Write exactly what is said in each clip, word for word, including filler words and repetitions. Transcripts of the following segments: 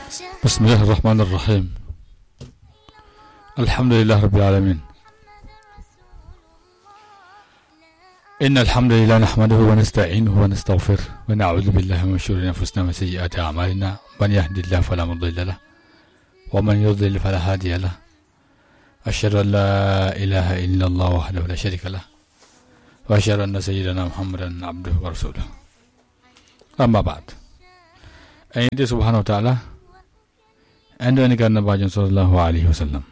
بسم الله الرحمن الرحيم. الحمد لله رب العالمين. إن الحمد لله نحمده ونستعينه ونستغفره ونعوذ بالله من شرور أنفسنا ومن سيئات أعمالنا. من يهد الله فلا مضل له ومن يضلل فلا هادي له. أشهد أن لا إله إلا الله وحده لا شريك له وأشهد أن سيدنا محمدا عبده ورسوله. أما بعد. En yetti subhanahu wa ta'ala, en du'ani ka Annabajo sallallahu alayhi wa sallam.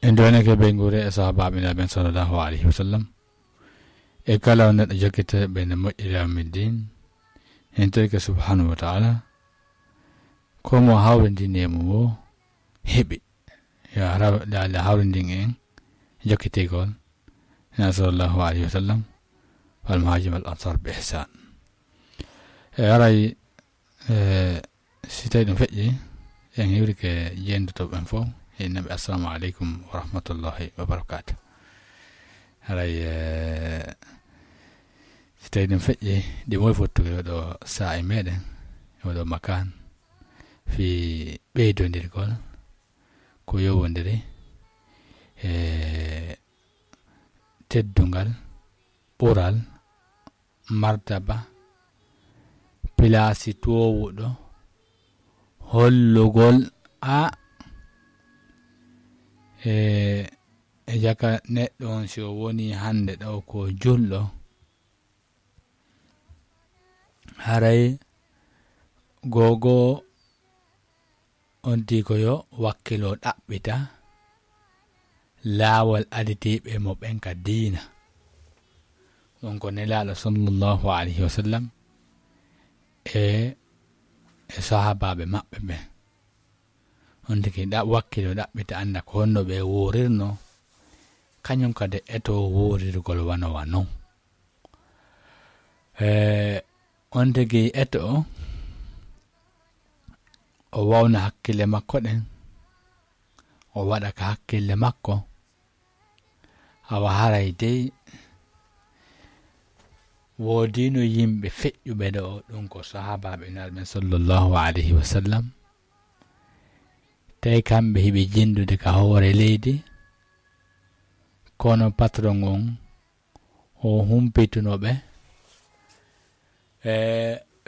En du'ani ka ɓeynguure e sahaabaaɓe Nabi sallallahu alayhi wa sallam. E kala on neɗɗo jokkitee ɓe nde moƴƴiri amin din. En torike subhanahu wa ta'ala, ko mo hawrindini e mum o heɓi. Yo Allah hawrindin en jokkitigol Nabi sallallahu alayhi wa sallam, wal muhajir wal ansar bi ihsan. E haray, e, si tawi ɗum feƴƴi, en hiwrike jeendutoɓe ɓen fof, en naɓe assalamu aleykum wa rahmatullahi wa barakatuh. Haray, e, si tawi ɗum feƴƴi, ɗi moy fottude oɗo saa'i meɗen, oɗo makan, fi ɓeydondirgol ko yowondiri e teddungal, ɓural, martaba, pilaasi toowuɗo, hollugol a e, e jaka neɗɗo on, si o woni hannde ɗo ko julɗo, haray gogo on tii ko yo wakkilo ɗaɓɓita laawol aditiiɓe mo ɓen ka diina. Ɗum ko Nelaaɗo sallallahu alayhi wa sallam e, e sahaabaaɓe maɓɓe ɓen. On tigi ɗa-, wakkilo ɗaɓɓita annda ko honno ɓe wuurirno, kañum kadi eto wuurirgol wano wa non. E, on tigi eto o wawna hakkille makko ɗen, o waɗa ka hakkille makko. Awa haray dey, woodino yimɓe feƴƴuɓe ɗo, ɗum ko sahaabaaɓe Nulaaɗo ɓen sallallahu alayhi wa sallam. Tawi kamɓe hiɓe jinndude ka hoore leydi, kono patron on o humpituno ɓe, e,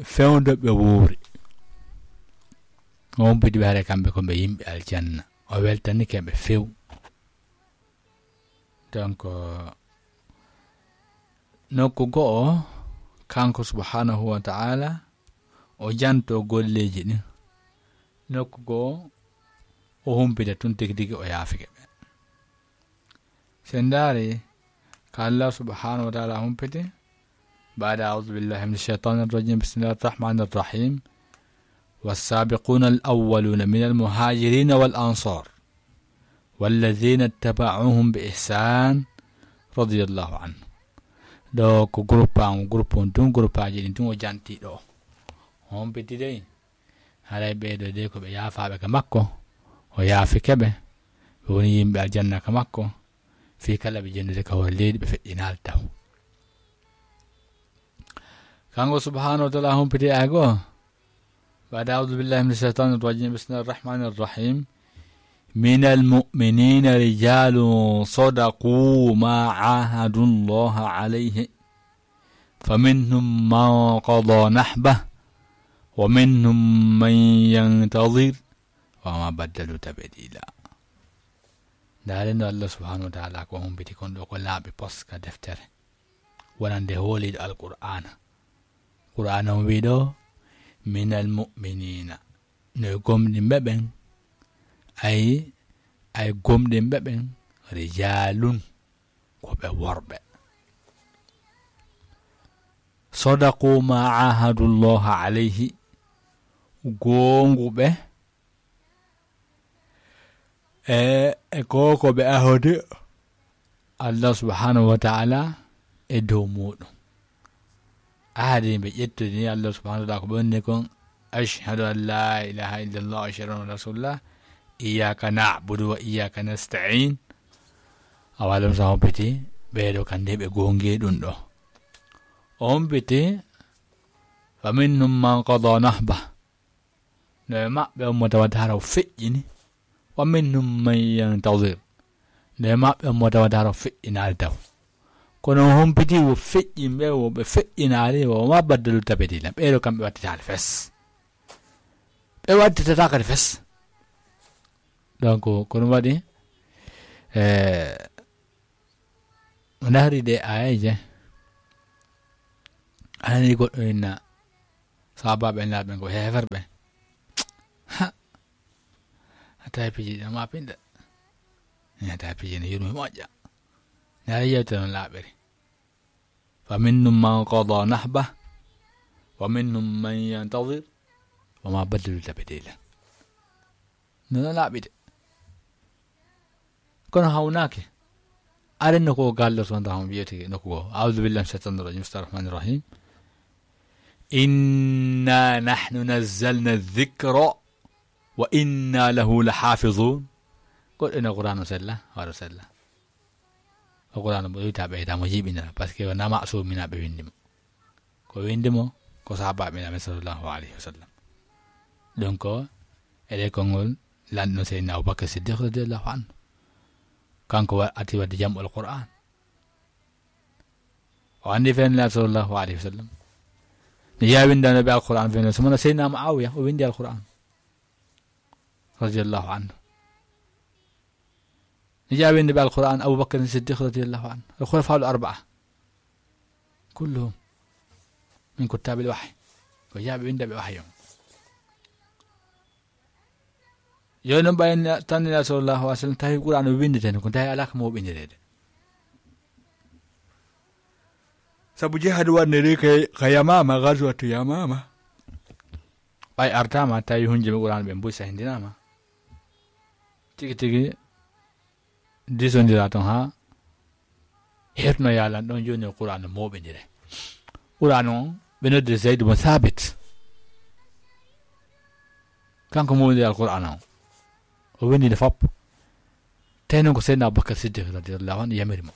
fewndo ɓe wuuri. O humpiti ɓe, haray kamɓe ko ɓe yimɓe aljanna. O weltanike ɓe few. Donc, nokku go'o, kanko subhanahu wa ta'ala, o janto golleeji ɗin. Nokku go'o, o humpita tun tigi tigi o yaafike ɓe. Sen ndaari ka Allah subhanahu wa ta'ala humpiti, بعد أعوذ بالله من الشيطان الرجيم. بسم الله الرحمن الرحيم. والسابقون الأولون من المهاجرين والأنصار والذين اتبعوهم بإحسان رضي الله عنهم. Ɗo ko groupe an, groupe on tun, groupe aji ɗin tun o janti ɗo. O humpiti dey. Haray ɓee ɗoo de ko ɓe yaafaaɓe ka makko, o yaafike ɓe, ɓe woni yimɓe aljanna ka makko, fii kala ɓe jenndude ka hoore leydi ɓe feƴƴinaali taw. Kanko subhanahu wa ta'ala humpiti ay goo. بعد أعوذ بالله من الشيطان الرجيم. بسم الله الرحمن الرحيم. من المؤمنين رجال صدقوا ما عاهدوا الله عليه فمنهم من قضى نحبه ومنهم من ينتظر وما بدلوا تبديلا. Ndaaren no Allah subhanahu wa ta'ala ko humpiti kon ɗo ko laaɓi pos ka deftere. Wonande hooliiɗo Alqur'aana. Qur'aana on wi'i ɗo, من المؤمنين. No e gomɗinɓe ɓen, ay, ay gomɗinɓe ɓen, رجال. Ko ɓe worɓe. صدقوا ما عاهدوا الله عليه, goonguɓe e, e ko, ko ɓe ahodi Allah subhanahu wa ta'ala e dow muɗum. Ahadi ɓe ƴettudi ni Allah subhanahu wa ta'ala ko ɓe woni kon, أشهد أن لا إله إلا الله وأشهد أن رسول الله، إياك نعبد وإياك نستعين. Awa ɗum sa humpiti, ɓee ɗoo kandi ɓe goongi ɗum ɗo. O humpiti, فمنهم من قضى نحبه. No e maɓɓe on mo tawata hara o feƴƴini. Wa minhum man yantazir. No e maɓɓe on mo tawata hara o feƴƴinaali taw. Kono o humpiti wo feƴƴinɓe, wo ɓe feƴƴinaali, wo ma baddalu tabdila. Ɓeeɗo kamɓe wattitaali fes. Ɓe wattitata kadi fes. Donc, ko ɗum waɗi, eh, o nahri ɗe aayeeje. A nani goɗɗo inna sahabaaɓe laaɓe ko heeferɓe. Ha! A tawi piiji ɗi ma pinɗa. A tawi piiji ɗi yurmi moƴƴa. Nde ara yewtere no laaɓiri. Fa minhum man qada nahba, wa minhum man yantazir, wa ma baddalu tabdila. No, no laaɓi de. Kono hawnaaki. Aren no ko gallorto nda hon wiyete nokku goo. A'udhu billahi minash shaitanir rajim. Bismillahir rahmanir rahim. Inna nahnu nazzalna dhikra wa inna lahu lahafizun. Goɗɗo ina Qur'an o sella, waɗa sella. O Qur'an o ɓeyta, ɓeyta mo jiɓinira, parce que wona ma'sumina ɓe windi mo. Ko windi mo, ko sahabaaɓe Nabi sallallahu alayhi wa sallam. Donc, e ɗe konngol lanɗo Seydina Abubakar Siddiq radiyallahu anhu. Kanko wa-, ati wadde jam'ul Qur'an. O anndi fenla sallallahu alayhi wa sallam. Ne yaa windano ɓe Alqur'an fenla, so mona Seydina Muawiya, o windi Alqur'an. Radiyallahu anhu. Ne yaa windi ɓe Alqur'an, Abubakar Siddiq radiyallahu anhu. Al-khulafa al-arba'a. Kulluhum min kuttabil wahyi. Ko yaaɓe windaɓe wahyi on. Yo non ɓay na-, tan Nela sallallahu alaihi wasallam tawi Qur'an o windete, ko tawi alaa ko mo windirede. Sabu jihad wanniri ka, ka Yamama, ghazwatu Yamama. Ɓay artama, tawi hunjumi Qur'an ɓe mbuy sahindinama. Tigi tigi, disondira ton ha hertuno yalan ɗon, joni o Qur'an no moɓindire. Qur'an on, ɓe nodde Zayd ibn Thabit. Kanko moɓindiri Al-Qur'an on. O windinde fop. Tawi noon ko Seydina Abubakar Siddiq radiyallahu anhu yamiri mo.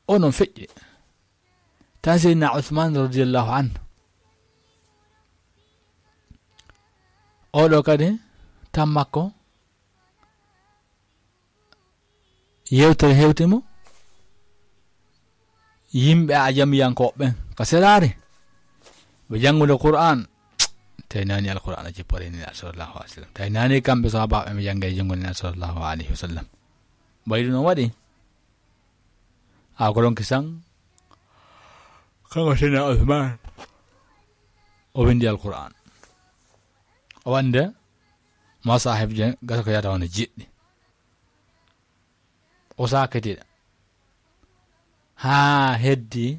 O noon feƴƴi. Tan Seydina Usman radiyallahu anhu. Oɗo kadi tan makko yewtere hewti mo. Yimɓe ajamiyankooɓe ɓen ka seraare. Ɓe janngude Qur'an. Tawi nani Al-Qur'an a jippore ni sallallahu alaihi wasallam. Tawi nani kamɓe sahabaaɓe ɓe jannga e junngo ni sallallahu alaihi wasallam. Baydu no waɗi. A ko ɗon kisan, kanko Seydina Usman, o windi Al-Qur'an. O wande masahib je gasa ko yata wona jeɗɗi. O sakitiɗa. Haa heddi,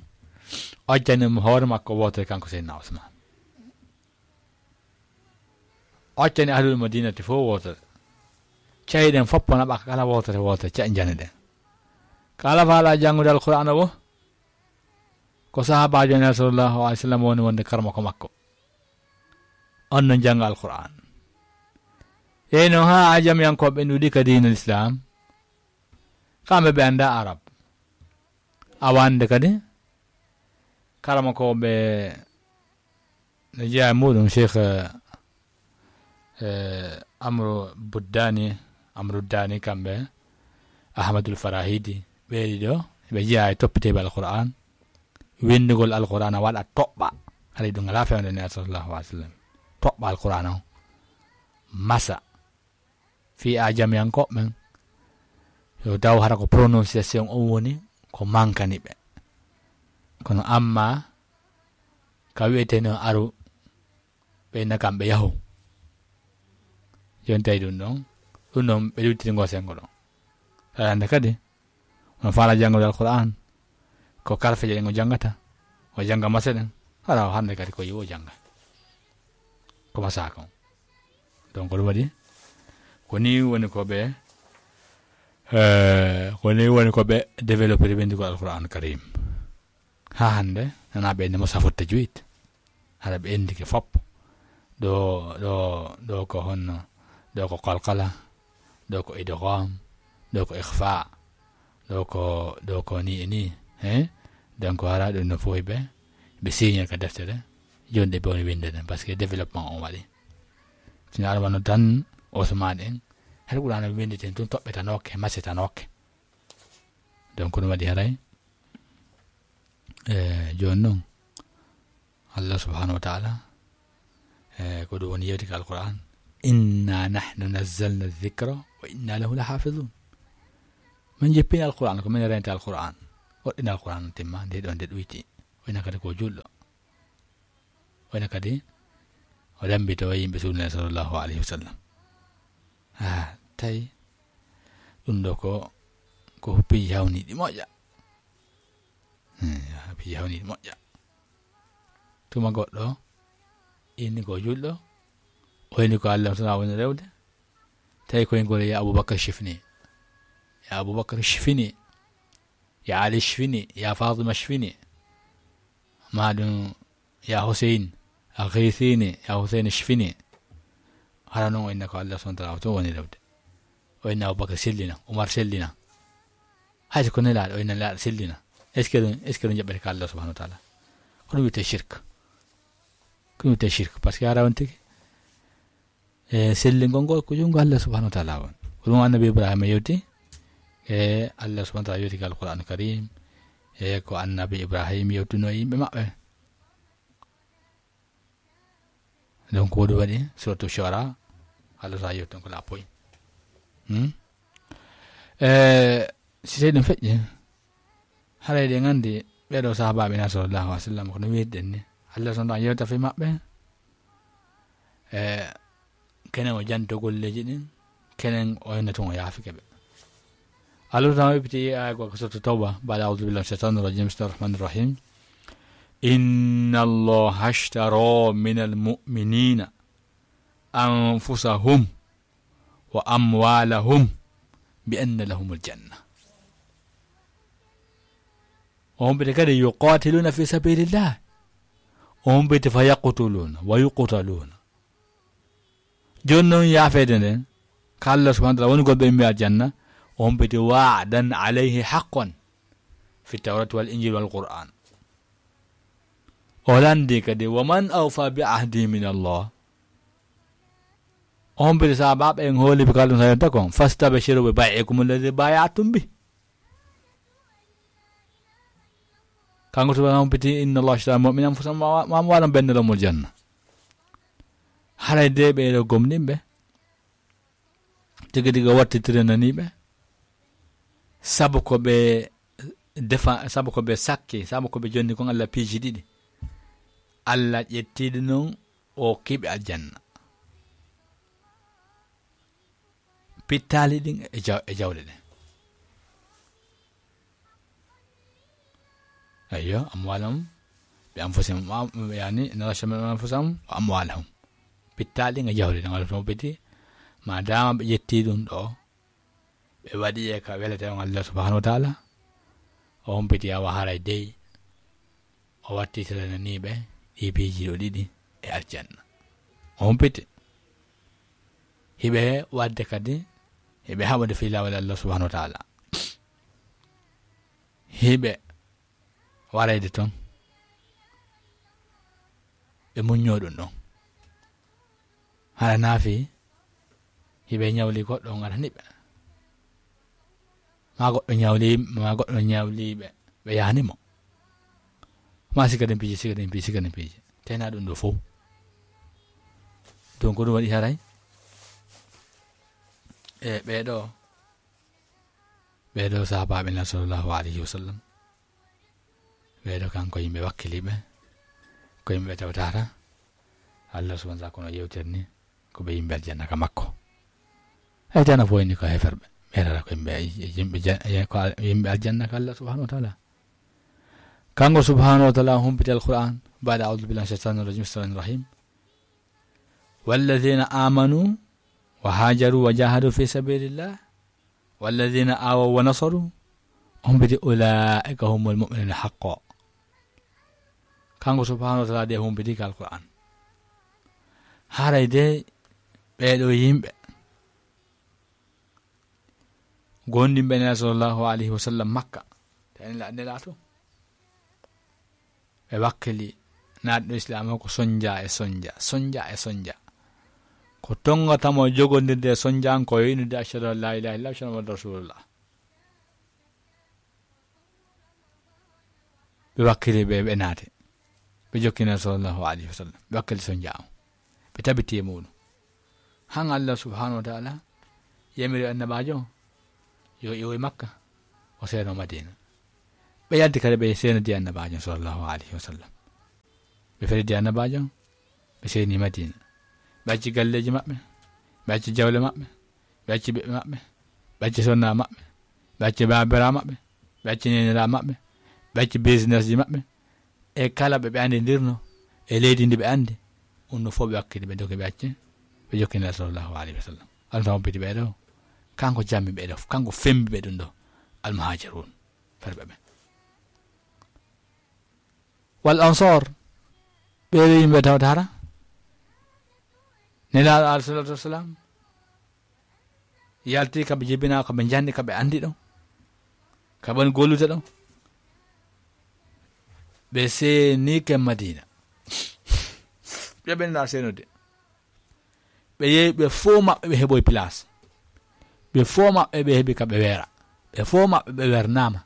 o jani mo hoore makko wootere kanko Seydina Usman. O accani ahlul madinati fof wootere. Cayi ɗen fof naɓa kala wootere wootere, ca-, jani ɗen. Kala faala janngude Alqur'aana wo, ko sahaabaajo Nelaɗo sallallahu alaihi wasallam woni wonde karmako makko. On no jannga Alqur'aan. Eyi noon haa ajamiyankooɓe ɗuuɗi ka diina Lislaam. Kamɓe ɓe annda Arab. Awa annde kadi, karamokooɓe no jeyaa e muɗum, Cheikh, eh, Amru Buddani, Amru Dani, kamɓe Ahmadul Farahidi, ɓe ɗiɗo, ɓe jeyaa e toppiteeɓe Alqur'aan. Winndugol Alqur'aan a waɗa toɓɓa. Haray ɗum alaa fewndo Nelaɗo sallallahu alaihi wasallam. Toɓɓa Alqur'aan on. Masa. Fii ajamiyankooɓe ɓen, yo taw hara ko prononciation on woni ko mankani ɓe. Kono amma ka wi'eteno aru, ɓe na kamɓe yahu. Jooni tawi ɗum ɗon, ɗum ɗon ɓe luttiri ngo senngo ɗon. Aɗa annda kadi, on faala janngude Alqur'aan, ko karfe ɗen o janngata, o jannga masa ɗen, hara o hannde kadi ko yiwo jannga. Ko masa kon. Donc, ɗum waɗi, ko ni woni ko ɓe, eh, ko ni woni ko ɓe développé winndugol Alqur'aan Karim. Haa hannde, nana ɓe nde mo safo tajwid. Hara ɓe enndike fop. Ɗo, ɗo, ɗo ko honno, ɗo ko qalqala, ɗo ko idgham, ɗo ko ikhfa, ɗo ko, ɗo ko ni e ni, he? Donc, hara ɗum no fof ɓe Ɓe siñe ka deftere, jooni ɗe ɓe woni winnde nden, parce que développement on waɗi. Sina aɗa wano tan Ousmane en, hay Qur'an o winnditen tun toɓɓetanooke, masetanooke. Donc, ko ɗum waɗi haray, e, jooni noon, Allah subhanahu wa ta'ala, e, ko ɗum woni yewti ka Alqur'an, "Inna nahnu nazzalna dhikra wa inna lahu lahafizun." Min jippini Alqur'an, ko min renti Alqur'an. Woɗɗina Alqur'an timma, nde ɗon nde ɗuyti. O ina kadi ko juulɗo. O ina kadi o lambito yimɓe suudu Nulaaɗo sallallahu alayhi wa sallam. Ah, tawi ɗum ɗo ko, ko piiji hawniiɗi moƴƴa. Hmm, piiji hawniiɗi moƴƴa. Tuma goɗɗo inni ko juulɗo, o inni ko Allah tan woni rewde. Tawi ko ngol ya Abubakar shifni. Ya Abubakar shifni. Ya Ali shifni. Ya Fatima shifni. Ma ɗum, "Ya Hussein, aghithini, ya Hussein, shfini." Hara noon o inna ko Allah subhanahu wa ta'ala o to woni rewde. O inna Abubakar sellina, Umar sellina. Hay so ko nelaaɗo, o inna nelaaɗo sellina. Est-ce que ɗum, est-ce que ɗum jaɓɓete ka Allah subhanahu wa ta'ala? Ko ɗum wiyetee shirk. Ko ɗum wiyetee shirk, parce que hara on tigi, e sellingol ngol ko junngo Allah subhanahu wa ta'ala woni. Ko ɗum Annabi Ibrahima yewti, e Allah subhanahu wa ta'ala yewti ka Alqur'an Karim, e ko Annabi Ibrahima yewtuno e yimɓe maɓɓe. Donc, ko ɗum waɗi Suratu Shu'ara, Allah subhanahu yewti on ko lappoy. Hmm? E, si tawi ɗum feƴƴi, haray ɗen anndi ɓeeɗo sahabaaɓe na sallallahu alaihi wa sallam, ko no wiirɗen ni. Allah subhanahu yewta fii maɓɓe. E, kenen o janto golleeji ɗin, kenen o henna tun o yaafike ɓe. Allah subhanahu wa ta'ala wippiti e aya goo ka Suratu Tawba, ba'da a'udhu billahi minash shaitanir rajim, bismillahir rahmanir rahim. "Inna Allaha ashtara minal mu'minina anfusahum wa amwalahum bi anna lahumul janna." O humpiti kadi, "Yuqatiluna fi sabilillah." O humpiti, "Fa yaqtuluna wa yuqtaluna." Jooni noon, yaafeede nden, ka Allah subhanahu wa ta'ala woni goɗɗo immi aljanna, o humpiti, "Wa'dan alayhi haqqan fi tawrati wal injil wal qur'an." O lanndi kadi, "Wa man awfa bi ahdi min Allah." O humpiti sahaabaaɓe en hooli ɓe ka Allah subhanahu wa ta'ala kon, "Fastabshiru bi bay'ikum alladhi bay'atum bih." Kanko subhanahu humpiti, "Inna Allaha ashtara mu'mina anfusahum wa amwalahum bi anna lahumul janna." Haray de ɓeeɗo gomɗinɓe, tigi tigi o wattitiri naniiɓe, sabu ko ɓe defa, sabu ko ɓe sakki, sabu ko ɓe jonni kon Allah piiji ɗiɗi. Allah ƴetti ɗi non, o hokki ɓe aljanna. Pittaali ɗin e jaw-, e jawle ɗen. Ayyo, amwaalahum bi anfusihim, ma-, yani, "Inna Allaha ashtara minal mu'minina anfusahum wa amwaalahum." Pittaali ɗin e jawle ɗen, walla to humpiti, ma dama ɓe ƴetti ɗum ɗo, ɓe waɗi e ka welata on Allah subhanahu wa ta'ala, o humpiti awa haray dey, o wattitirananiiɓe ɗi piiji ɗo ɗiɗi e aljanna. O humpiti. Hiɓe waɗde kadi, hiɓe haɓude fii laawol Allah subhanahu wa ta'ala. Hiɓe warayde ton, ɓe muññoo ɗum ɗon. Hara naafi, hiɓe ñawli goɗɗo, on arani ɓe. Maa goɗɗo ñawli, maa goɗɗo ñawli ɓe, ɓe yahani mo. Maa siga den piiji, siga den piiji, siga den piiji. Tena ɗum ɗo fof. Donc, ko ɗum waɗi haray. E ɓeeɗo, ɓeeɗo sahaabaaɓe na sallallahu alayhi wa sallam. Ɓeeɗo kanko yimɓe wakkiliiɓe, ko yimɓe tawtata Allah subhanahu wa ta'ala kono yewtere ni, ko ɓe yimɓe aljanna ka makko. Aljanna fof ni ko heferɓe, ɓe tata ko yimɓe, yimɓe ja-, ko al-, yimɓe aljanna ka Allah subhanahu wa ta'ala. Kanko subhanahu wa ta'ala humpiti Alquran, ba'da a'udhu billahi minash shaitanir rajim, bismillahir rahmanir rahim. Walladhina amanu wa hajaru wa jahadu fi sabilillah, walladhina awaw wa nasaru, humpiti, ulaika humul mu'minuna haqqo. Kanko subhanahu wa ta'ala de humpiti ka Alquran. Haray de ɓeeɗo yimɓe gondimɓe Nela sallallahu alayhi wa sallam Makka, tani la-, Nela to. Ɓe wakkili naatɗo Islaam o ko sonja e sonja, sonja e sonja. Ko tonngata mo jogondirde e sonjanko o, inndude: "Ashhadu an laa ilaaha illallah, ashhadu anna Muhammadan Rasulullah." Ɓe wakkili ɓe, ɓe naati. Ɓe jokki Nelaaɗo sallallahu alayhi wa sallam. Ɓe wakkili sonja o. Ɓe tabiti e muuɗum. Han Allah subhanahu wa ta'ala yamiri annabaajo o yo iwoy Makka, o seeno Madina. Ɓe yalti kadi ɓe seenodi annabaajo sallallahu alayhi wa sallam. Ɓe feridi annabaajo, ɓe seeni Madina. Ɓe acci galleeji maɓɓe, ɓe acci jawle maɓɓe, ɓe acci ɓiɓɓe maɓɓe, ɓe acci sonna maɓɓe, ɓe acci baabira maɓɓe, ɓe acci neenira maɓɓe, ɓe acci businessji maɓɓe, e kala ɓe ɓe anndirno, e leydi ndi ɓe anndi. Ɗum ɗo fof ɓe wakkili, ɓe dogi, ɓe acci, ɓe jokki Nelaaɗo sallallahu alayhi wa sallam. Allah tan hompiti ɓee ɗo, kanko jammi ɓee ɗo, kanko fembi ɓe ɗum ɗo, almuhajirun, ferɓe ɓe. Wal ansor, ɓee ɗo yimɓe tawata hara Nelaaɗo alayhi salatu wassalam yalti ka ɓe jibina, ka ɓe janni, ka ɓe anndi ɗo, ka ɓe woni gollude ɗo. Ɓe seenike Madina. Ɓe ɓenna seenude. Ɓe yehi, ɓe fof maɓɓe ɓe heɓoyi place. Ɓe fof maɓɓe ɓe heɓi ka ɓe weera. Ɓe fof maɓɓe ɓe wernaama.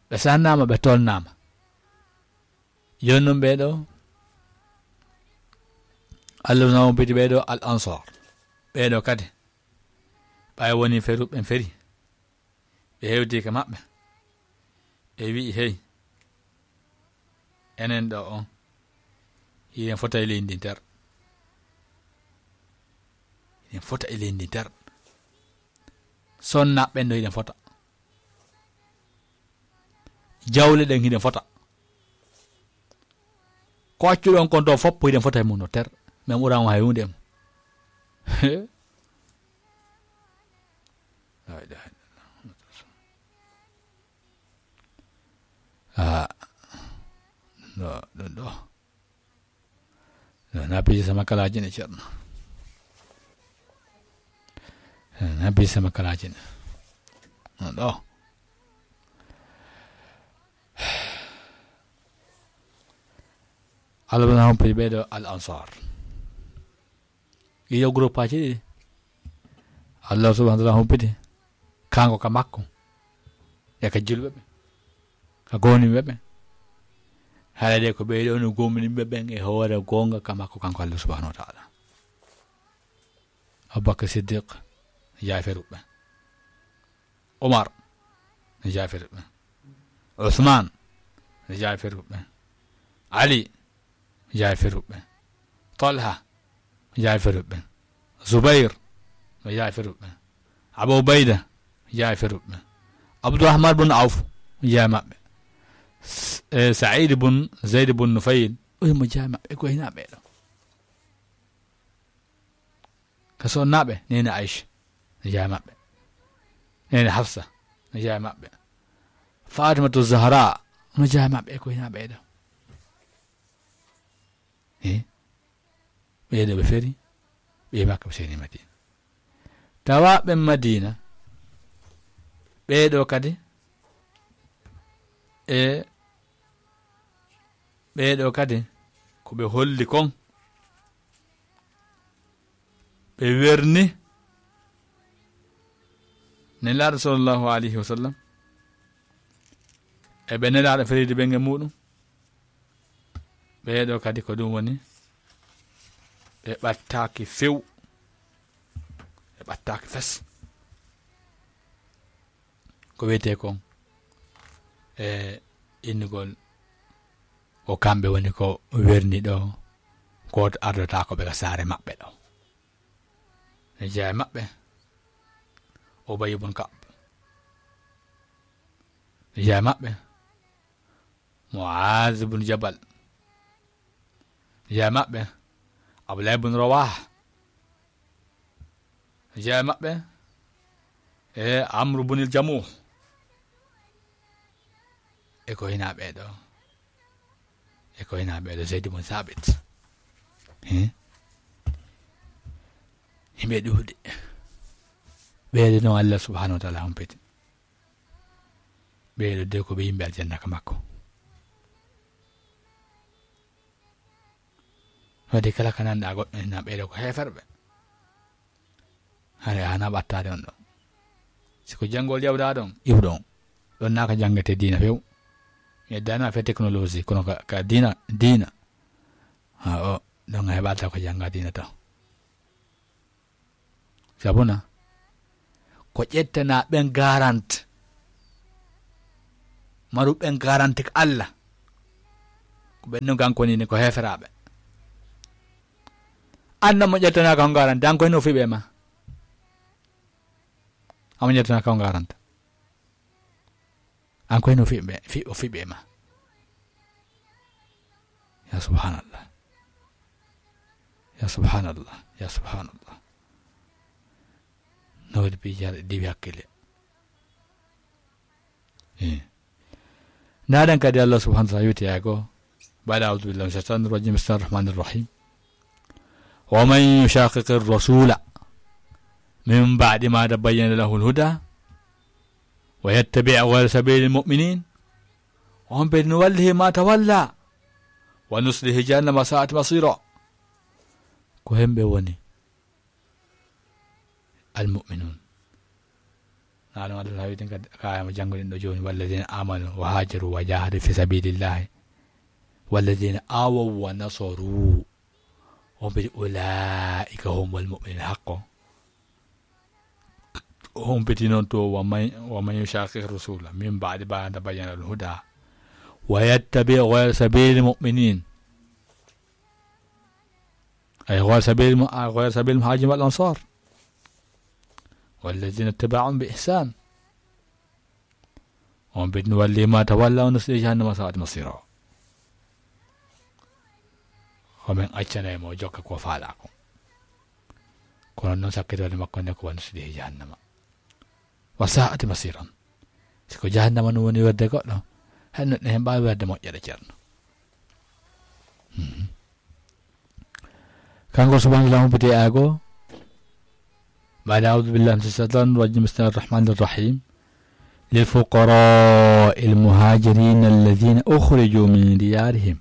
Ɓe sannaama, ɓe tolnaama. Jooni noon ɓee ɗo, Allah na hompiti ɓee ɗo al ansor. Ɓee ɗo kadi, ɓay woni feru, ɓen feri. Ɓe hewti ka maɓɓe. Ɓe wi'i: "Hey, enen ɗo on, hiɗen fota e leydi ndin ter. Hiɗen fota e leydi ndin ter. Sonna ɓen ɗo hiɗen fota. Jawle ɗen hiɗen fota. Ko accuɗon kon ɗo fof hiɗen fota e mum no ter. Men ɓuran on hay huunde e mum." La ilaha illallah. Ah, ɗum ɗo, ɗum ɗo. Ɗum na piiji sama kalaaji ne, Ceerno. Ɗum na piiji sama kalaaji ne. Ɗum ɗo. Allah na hompiti ɓee ɗo al ansar. Ɗiɗo groupeaji ɗiɗi. Allah subhanahu wa ta'ala humpiti kanko ka makko, e ka julɓe ɓe, ka gomɗinɓe ɓe. Haala de ko ɓee ɗo no gomɗinɓe ɓen e hoore goonga ka makko, kanko Allah subhanahu wa ta'ala. Abubakar Siddiq, jaaferuɓe. Umar, jaaferuɓe. Usman, jaaferuɓe. Ali, jaaferuɓe. Talha, jaaferuɓe. Zubair, jaaferuɓe. Abu Ubaida, jaaferuɓe. Abdurrahman bun Auf, jaa maɓɓe. S-, eh, Said bun Zaid bun Nufayl, o himo jaa maɓɓe, ko hina ɓee ɗo. Ka sonnaaɓe, neene Aisha, no jaa maɓɓe. Neene Hafsa, no jaa maɓɓe. Fatimatu Zahra, no jaa maɓɓe, ko hina ɓee ɗo. Eh? Ɓee ɗo ɓe feri, ɓe Makka, ɓe seeni Madina. Tawa ɓe Madina, ɓee ɗo kadi, e ɓee ɗo kadi, ko ɓe holli kon, ɓe werni Nelaaɗo sallallahu alayhi wa sallam, e ɓe Nelaaɗo feridi ɓen e muuɗum. Ɓee ɗo kadi ko ɗum woni, ɓe ɓattaaki few, ɓe ɓattaaki fes. Ko wiyetee kon e innugol, ko kamɓe woni ko werni ɗo, gooto ardotaako ɓe ka saare maɓɓe ɗo. Ne jeyaa e maɓɓe Ubay ibn Ka'b. Ne jeyaa e maɓɓe Mu'az ibn Jabal. Ne jeyaa e maɓɓe Abdullah ibn Rawaha. Ne jeyaa e maɓɓe e Amr ibn al-Jamuh. E ko hina ɓee ɗo? E ko hina ɓee ɗo Zayd ibn Thabit? He? Himɓe ɗuuɗe. Ɓee ɗo noon Allah subhanahu wa ta'ala humpiti. Ɓee ɗo de ko ɓe yimɓe aljanna ka makko. Waɗi kala ka nanɗa goɗɗo ina ɓeydo ko heeferɓe. Hare a hana ɓattaade on ɗon. Si ko janngol yawɗa ɗon, iwɗo on. Ɗon naa ka janngete diina few. Mi yeddana fe technologie, kono ka, ka diina, diina. Ha o, ɗon a heɓata ko jannga diina taw. Sabuna, ko ƴettana ɓen garant. Maru ɓen garanti ko Allah. Ko ɓen no gankoni ni ko heferaaɓe. An mo ƴettana ko garanta, an koy no fiɓe ma. Amo ƴettana ko garanta. An koy no fiɓe, fi-, o fiɓe ma. Ya subhanallah. Ya subhanallah. Ya subhanallah. No waɗi piiji hara diwi hakkille. Eh. Ndaɗen kadi Allah subhanahu wa ta'ala yewti ay goo. Baɗa a'udhu billahi minash shaitanir rajim. Bismillahir rahmanir rahim. Wa man yushaqiqir rasula min ba'di ma tabayyana lahul huda wa yattabi' ghayra sabilil mu'minin. On ɓe nuwallihi ma tawalla wa nuslihi jahannama sa'at masira. Ko hemɓe woni almu'minun. Naɗum Allah hawiti kadi kayama jannguɗen ɗo jooni, walladina amanu wa hajaru wa jahadu fi sabilillahi walladina awaw wa nasaru. On ɓe ulaika humul mu'minun haqqo. On ɓe noon to wa man, wa man yushaqiq rasula min ba'di ma tabayyana al huda wa yattabi ghayra sabilil mu'minin. Ay, ghayra sabilil mu-, ay, ghayra sabilil muhajirin wal ansar. Walladina taba'uhum bi ihsan. On ɓe nuwalli ma tawalla wa nusli jahannama sa'at masira. Ko men accanay mo jokka ko faala ko. Kono noon sakkitoode makko nde ko wa nusli jahannama. Wa sa'at masiran. Si ko jahannama no woni werde goɗɗo, hay no ɗen mbaawi werde moƴƴere ceerno. Mhm. Kanko subhanahu wa ta'ala humpiti e aya goo. Baada a'udhu billahi minash shaitanir rajim. Bismillahir rahmanir rahim. Lil fuqara'il muhajirin alladhina ukhriju min diyarihim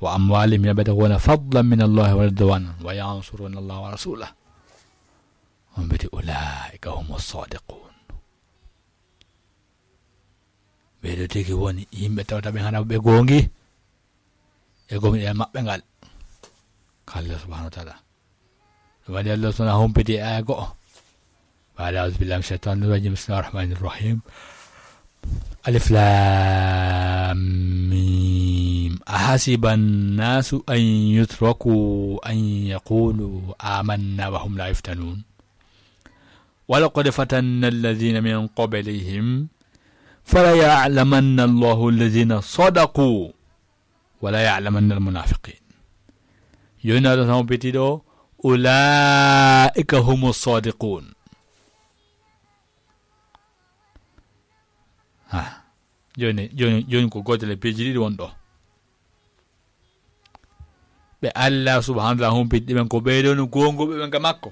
wa amwalihim yabtaghuna fadlan minallahi wa ridwanan wa yansuruna allaha wa rasulahu. On mbiti, "Ulaa'ika humu saadiquun." Ɓee ɗoo tigi woni yimɓe tawata ɓe hana ɓe goongi e gomɗinal maɓɓe ngal. Ka Allah subhanahu wa ta'ala. Ɗum waɗi Allah subhanahu humpiti e aya go'o. Baada a'udhu billahi minash shaitanir rajim. Bismillahir rahmanir rahim. Alif lam mim. Ahasiba an-nasu an yutraku an yaqulu amanna wa hum la yuftanun. Wa laqad fatanna alladhina min qablihim. Fala ya'lamanna Allahu alladhina sadaqu. Wala ya'lamanna al-munafiqin. Jooni aɗa tan betiɗo, ulaa'ika humu sadiqun. Ha. Jooni, jooni, jooni ko gootel e peeji ɗiɗi won ɗo. Ɓe Allah subhanahu wa ta'ala humpiti ɓen ko ɓee ɗoo no goonguɓe ɓen ka makko.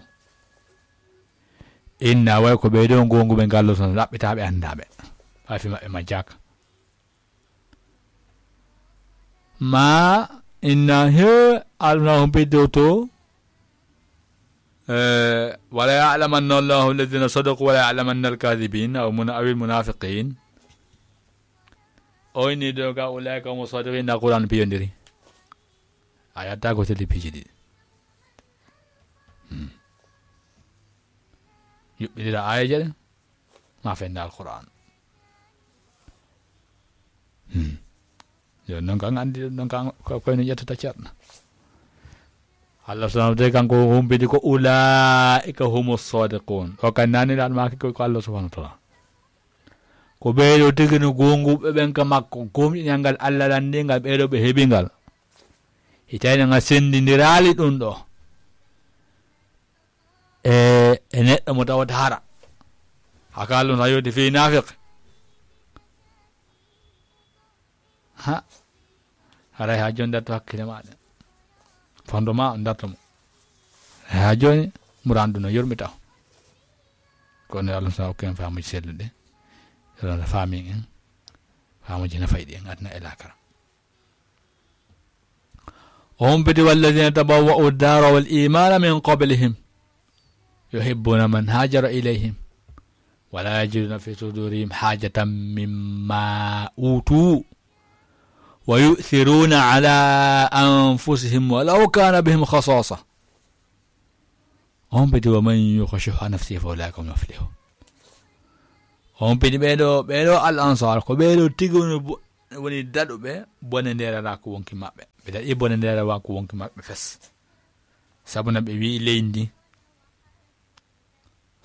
Inna way ko ɓee ɗoo goonguɓe ngal ɗo tan ɗaɓɓitaaɓe anndaɓe. Faafi maɓɓe majjaka. Ma inna he alna humpiti to. Eh, wala ya'lamanna Allahu alladhina sadaqu wala ya'lamanna al-kadhibin aw muna-, aw al-munafiqin. O inni ɗo ga ulaika humu sadiqin na Qur'an piyondiri. A yatta ko teli piiji ɗiɗi. Hmm. Yuɓɓindira aayeeje ɗen, ma fenda Alqur'an. Hmm. Yo, non kan andi, non kan ko, ko no ƴettata ceerno. Allah subhanahu wa ta'ala kanko humpiti ko ulaa'ika humu sadiqun. O kan nani lan ma ko, ko Allah subhanahu wa ta'ala. Ko ɓee ɗoo tigi no goonguɓe ɓen ka makko, gomɗinal ngal Allah lanndii ngal, ɓee ɗoo ɓe heɓi ngal. Hitaande ngal senndindiraali ɗum ɗo. E, e neɗɗo mo tawata hara. Haka Allah na yewti fii naafiq. Ha. Haray haa jooni darto hakkille maaɗa. Fondo ma on darto mo. Haa jooni muradu no yurmi taw. Kono Allah sa okken faamuji selluɗi. Yo Allah faamin en. Faamuji na fayɗi en aduna e laakara. O humpiti: "والذين تبوأوا الدار والإيمان من قبلهم يحبون من هاجر إليهم ولا يجدون في صدورهم حاجة مما أوتوا ويؤثرون على أنفسهم ولو كان بهم خصاصة". O humpiti: "ومن يوق شح نفسه فأولئك هم المفلحون". O humpiti ɓeeɗo, ɓeeɗo al ansar, ko ɓeeɗo tigi woni bo-, woni daɗuɓe bone ndeeraraaku wonki maɓɓe. Ɓe daɗi bone ndeeraraaku wonki maɓɓe fes. Sabu na ɓe wi'i leydi ndi,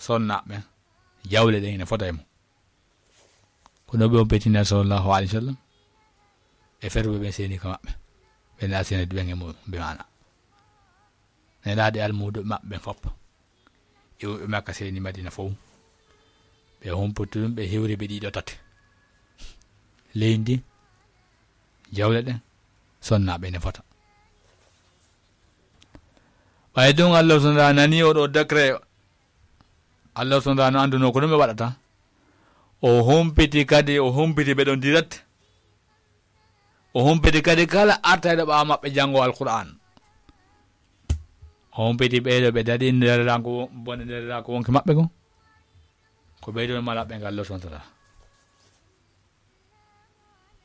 sonnaaɓe, jawle ɗen ina fota e mum. Kono ɓe on pettina sallallahu alayhi wa sallam e ferɓe ɓen seeni ka maɓɓe. Ɓe na seenede ɓen e muɗum, bi maana. Nelaaɗo e almuudo maɓɓe ɓen fof. Iwɓe Makka seeni Madina fof. Ɓe humputu ɗum, ɓe hewri ɓe ɗiɗo tati. Leydi, jawle ɗen, sonnaaɓe ne fota. Ɓay ɗum Allah subhanahu wa ta'ala nani oɗo décret, Allah subhanahu wa ta'ala no annduno ko ɗum ɓe waɗata. O humpiti kadi, o humpiti ɓe ɗon direct. O humpiti kadi kala artayɗo ɓaawo maɓɓe janngo Alqur'aan. O humpiti ɓeeɗo ɓe daɗi ndeeraraaku, bone ndeeraraaku wonki maɓɓe ko. Ko ɓeeɗo malaɓe ngal Allah subhanahu wa ta'ala.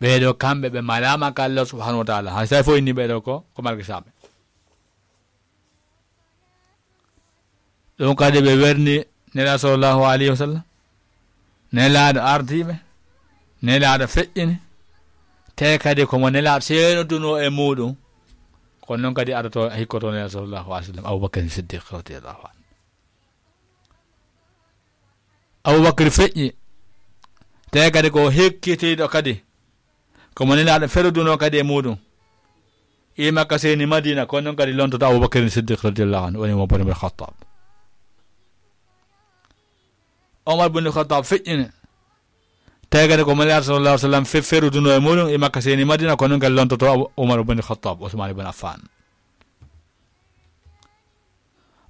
Ɓeeɗo kamɓe ɓe malaama ka Allah subhanahu wa ta'ala. Hay so tawi fof inni ɓeeɗo ko, ko margisaaɓe. Ɗum kadi ɓe werni Nelaaɗo sallallahu alayhi wa sallam. Nelaaɗo ardiiɓe. Nelaaɗo feƴƴini. Te kadi ko mo Nelaaɗo seenodunoo e muuɗum. Kono noon kadi aroto, hikkoto Nelaaɗo sallallahu alayhi wa sallam, Abubakar Siddiq radiyallahu anhu. Abubakar feƴƴi. Te kadi ko hekkitiiɗo kadi. Ko mo Nelaaɗo ferodunoo kadi e muuɗum. Iwɓe Makka seeni Madina, kono noon kadi lontoto Abubakar Siddiq radiyallahu anhu, woni Umar bun Khattab. Umar bun Khattab feƴƴini. Tawi kadi ko mo Nelaaɗo sallallahu alayhi wa sallam fe-, ferodunoo e muuɗum, iwɓe Makka seeni Madina, kono noon kadi lontoto Abu-, Umar bun Khattab, Usmaan ibn Affan.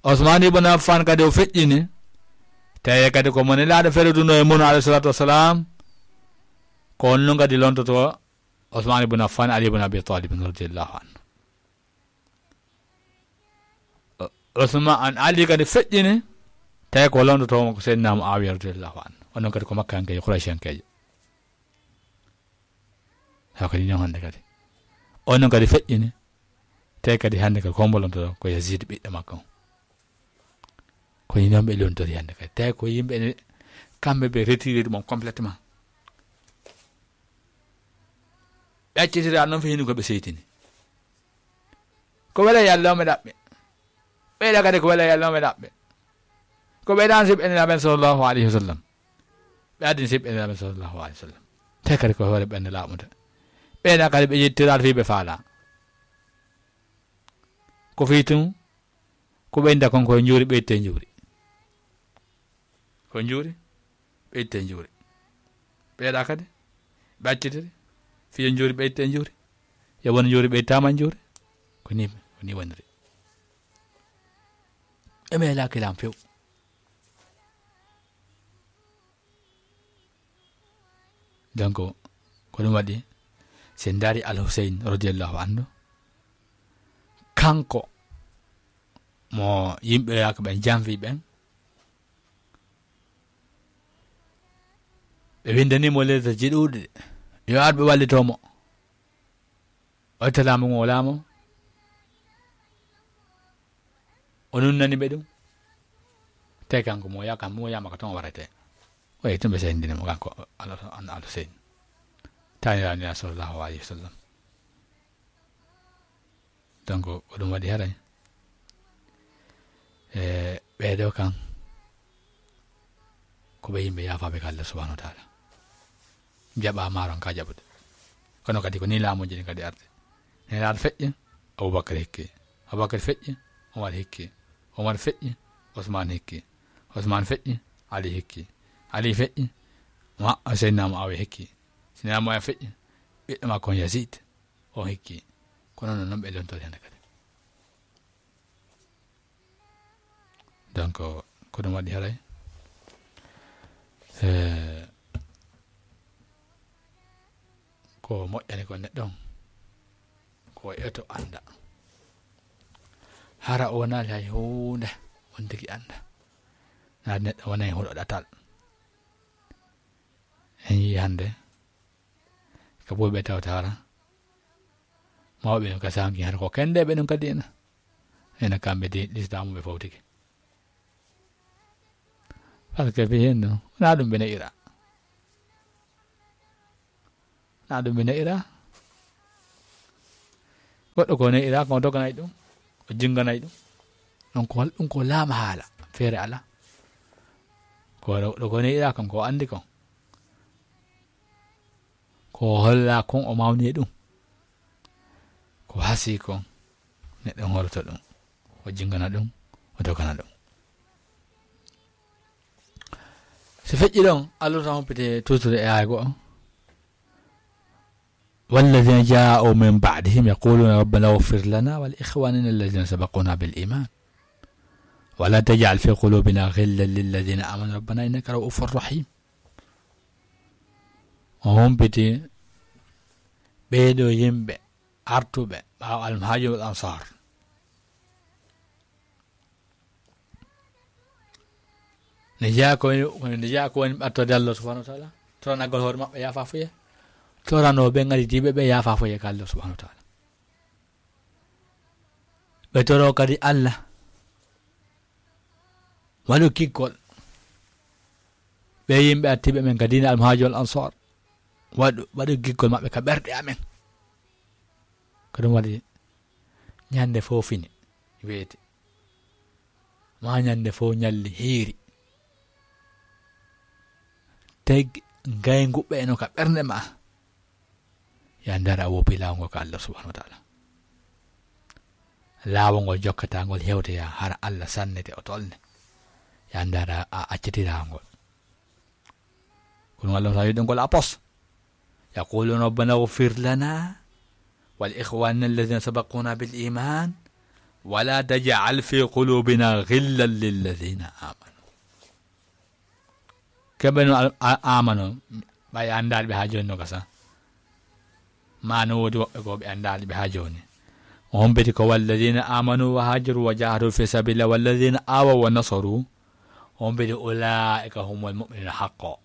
Usmaan ibn Affan kadi o feƴƴini. Tawi kadi ko mo Nelaaɗo ferodunoo e muuɗum alayhi salatu wassalam, ko on noon kadi lontoto Usmaan ibn Affan, Ali ibn Abi Talib radiyallahu anhu. Usmaan, Ali kadi feƴƴini, tawi ko londotoo mo ko Seydina Muawiya radiyallahu anhu. Onon kadi ko Makkankeejo, Qurayshankeejo. Haa kadi noon hannde kadi. Onon kadi feƴƴini, tawi kadi hannde kadi ko hombo londotoo? Ko Yazid ɓiɗɗo makko on. Ko ni noon ɓe lontori hannde kadi. Tawi ko yimɓe ene, kamɓe ɓe retiré ɗum on complètement. Ɓe accitira noon fii hino ko ɓe seytini. Ko wela Yalla o ɓe ɗaɓɓe. Ɓeyɗa kadi ko wela Yalla o ɓe ɗaɓɓe. Ko ɓeyɗa an siɓɓe Nelaaɓe sallallahu alayhi wa sallam. Ɓe addini siɓɓe Nelaaɓe sallallahu alayhi wa sallam. Te kadi ko hoore ɓen laaɓude. Ɓeyɗa kadi ɓe yettiraade fii ɓe faala. Ko fii tun, ko ɓeynda kon ko njuuri ɓeyte njuuri. Ko njuuri, ɓeyte njuuri. Ɓeyɗa kadi, ɓe accitiri, fiyo njuuri ɓeyte njuuri. Yo won njuuri ɓeytaama njuuri. Ko ni, ko ni woniri. E meelaaki lam few. Donc, ko ɗum waɗi, si en ndaari Al Huseyn radiyallahu anhu, kanko mo yimɓe yaaka ɓen janfi ɓen, ɓe windani mo lettre ji ɗuuɗi, yo ar ɓe wallito mo. O itta laamu ngu o laamo. O nunnani ɓe ɗum. Te kanko mo yaaka, mo yaama ko toon o warete. O yehi tun ɓe sendini mo kanko Al, Al, Al Huseyn. Taaniraaɗo Nelaaɗo sallallahu alayhi wa sallam. Donc, ko ɗum waɗi haray. E, ɓeeɗo kan, ko ɓe yimɓe yaafaaɓe ka Allah subhanahu wa ta'ala. Jaɓa maaron ka jaɓude. Kono kadi ko ni laamuuji ɗin kadi arde. Nelaaɗo feƴƴi, Abubakar hikki. Abubakar feƴƴi, Umar hikki. Umar feƴƴi, Usmaan hikki. Usmaan feƴƴi, Ali hikki. Ali feƴƴi, Ma-, Seydina Muawiya hikki. Seydina Muawiya feƴƴi, ɓiɗɗo makko on Yazid, on hikki. Kono non, non ɓe lontori hannde kadi. Donc, ko ɗum waɗi haray. Eh, ko moƴƴani ko neɗɗo on, ko eto annda. Hara o wonaali hay huunde, on tigi annda. Naa neɗɗo wonay huɗo ɗatal. En yii hannde, ko buuɓe tawta hara. Mawɓe ɗum ka saanki hara ko kennde ɓe ɗum ka diina. Ena kamɓe di, lislaamu ɓe fawtike. Parce que fii heen ɗum, wonaa ɗum ɓe ne'ira. Naa ɗum ɓe ne'ira. Goɗɗo ko ne'ira, ko doganay ɗum, o jinganay ɗum. Ɗum ko, ɗum ko laama haala, feere ala. Ko ɗo, ɗo ko ne'ira kon, ko anndi kon. Ko holla kon, o mawni e ɗum. Ko hasi kon, neɗɗo horoto ɗum, o jingana ɗum, o dogana ɗum. So feƴƴi ɗon, Allah tan humpite tuttude e aaya goo. والذين جاءوا من بعدهم يقولون ربنا اغفر لنا ولإخواننا الذين سبقونا بالإيمان ولا تجعل في قلوبنا غلا للذين آمنوا ربنا إنك رؤوف رحيم. O humpiti ɓee ɗoo yimɓe artuɓe ɓaawo Al-Muhaajirun wal Ansaar. Ne jeyaa ko woni, ne jeyaa ko woni ɓattorde Allah subhanahu wa taala, toranagol hoore maɓɓe yaafa fuye, toranoo ɓe ngaditiiɓe ɓe yaafa fuye ka Allah subhanahu wa taala. Ɓe toroo kadi Allah waɗu kikkol ɓe yimɓe attiiɓe men ka diina Al-Muhaajirun wal Ansaar, waɗu, waɗu kikkol maɓɓe ka ɓerɗe amen. Ko ɗum waɗi ñande fof fini weeti, ma ñande fof ñalli hiiri, teg ngaynguɓe eno ka ɓernde ma, ya ndara a woppi laawol ngol ka Allah subhanahu wa taala. Laawol ngol jokkata ngol hewtoya hara Allah sannete o tolne, ya ndara a acciti laawol ngol. Kono Allah sa yiɗi ngol a pos. يقولون ربنا اغفر لنا ولإخواننا الذين سبقونا بالإيمان ولا تجعل في قلوبنا غلا للذين آمنوا. Keɓe no al-, a-, amano, ɓay anndaali ɓe haa jooni no gasa. Ma no woodi woɓɓe goo ɓe anndaali ɓe haa jooni. O hompiti ko والذين آمنوا وهاجروا وجاهدوا في سبيل الله والذين آووا ونصروا. O hompiti أولئك هم المؤمنون حقا.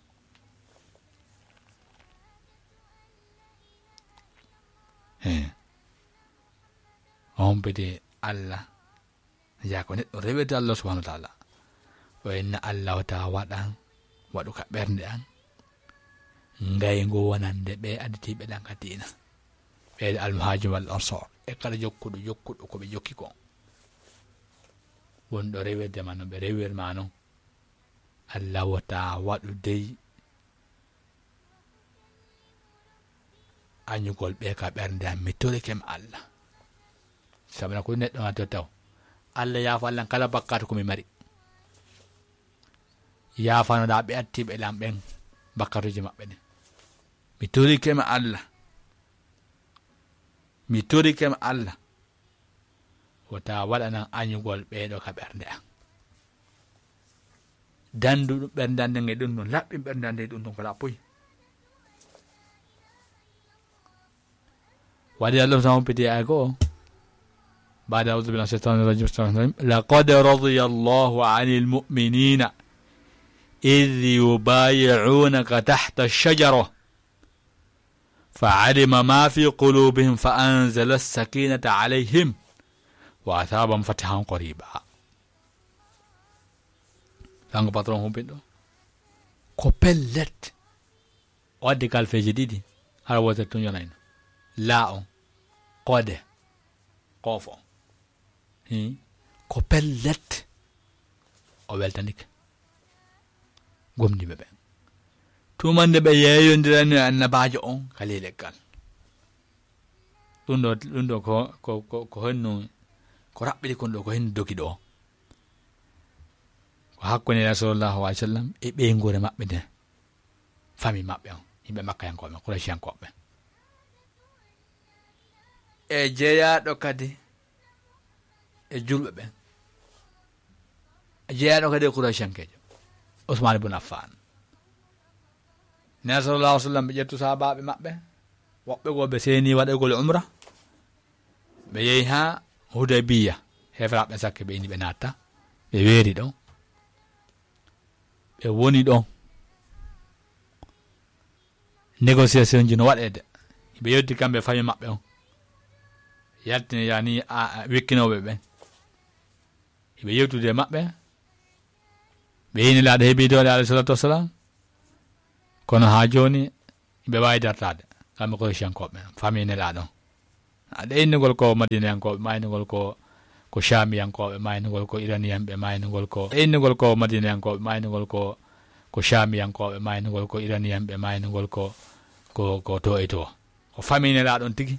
He. O hompiti Allah. Yaa ko neɗɗo rewirde Allah subhanahu wa taala. O inna Allah wata waɗan, waɗu ka ɓernde an. Ngayngu wonande ɓe additiiɓe ɗan ka diina. Ɓe Al-Muhaajirun wal Ansaar. E kala jokkuɗo, jokkuɗo ko ɓe jokki kon. Wonɗo rewirde ma no ɓe rewir ma non. Allah wata waɗu dey añugol ɓe ka ɓernde am, mi torike ma Allah. Sabuna ko neɗɗo ma to taw. Allah yaafo Allah kala bakkaatu ko mi mari. Yaafanoɗa ɓe attiiɓe lam ɓen bakkaatuji maɓɓe ɗin. Mi torike ma Allah. Mi torike ma Allah. Wata waɗanan añugol ɓeeɗo ka ɓernde am. Dandu ɗum ɓernde an nden e ɗum ɗum, laɓɓin ɓernde an nden e ɗum ɗum ko laɓɓoyi. Waɗi Allah tan humpiti e ay goo. بعد أعوذ بالله من الشيطان الرجيم. بسم الله الرحمن الرحيم. لقد رضي الله عن المؤمنين إذ يبايعونك تحت الشجرة فعلم ما في قلوبهم فأنزل السكينة عليهم وأثابهم فتحا قريبا. Lango patron humpin ɗo. Ko pellet. O addi kalfeeji ɗiɗi. Hara wootere tun yonayno. Laa on. Koode. Koofo. Hi. Ko pellet. O weltanike. Gomɗinɓe ɓen. Tumande ɓe yeeyondirani e annabaajo on ka ley leggal. Ɗum ɗo, ɗum ɗo ko, ko, ko, ko honno, ko raɓɓiɗi kon ɗo, ko henno dogi ɗo. Ko hakkunde Nulaaɗo sallallahu alaihi wasallam e ɓeynguure maɓɓe nden. Fami maɓɓe on, yimɓe Makkayankooɓe, Qurayshiyankooɓe. E jeyaaɗo kadi e julɓe ɓen. E jeyaaɗo kadi e Qurayshankeejo, Usmaan ibn Affaan. Nulaaɗo sallallahu alaihi wasallam ɓe ƴettu sahaabaaɓe maɓɓe, woɓɓe goo ɓe seeni waɗagol umra. Ɓe yehi haa Hudaybiya. Heeferaaɓe ɓen sakke ɓe inni ɓe naatta, ɓe weeri ɗon, ɓe woni ɗon. Négociation ji no waɗeede, ɓe yewti kamɓe fami maɓɓe on, yaltini yani wikkinooɓe ɓen, ɓe yewtude e maɓɓe. Ɓe yi Nelaaɗo heɓi doole, alayhi salatu wassalam, kono haa jooni ɓe waawi dartaade kamɓe Qurayshiyankooɓe, fami Nelaaɗo on. Aɗa innugol ko Madinayankooɓe, ma innugol ko ko Shaamiyankooɓe, ma innugol ko Iraniyanɓe, ma innugol ko e innugol ko Madinayankooɓe, ma innugol ko ko Shaamiyankooɓe, ma innugol ko Iraniyanɓe, ma innugol ko ko ko to e to. Ko fami Nelaaɗo on tigi,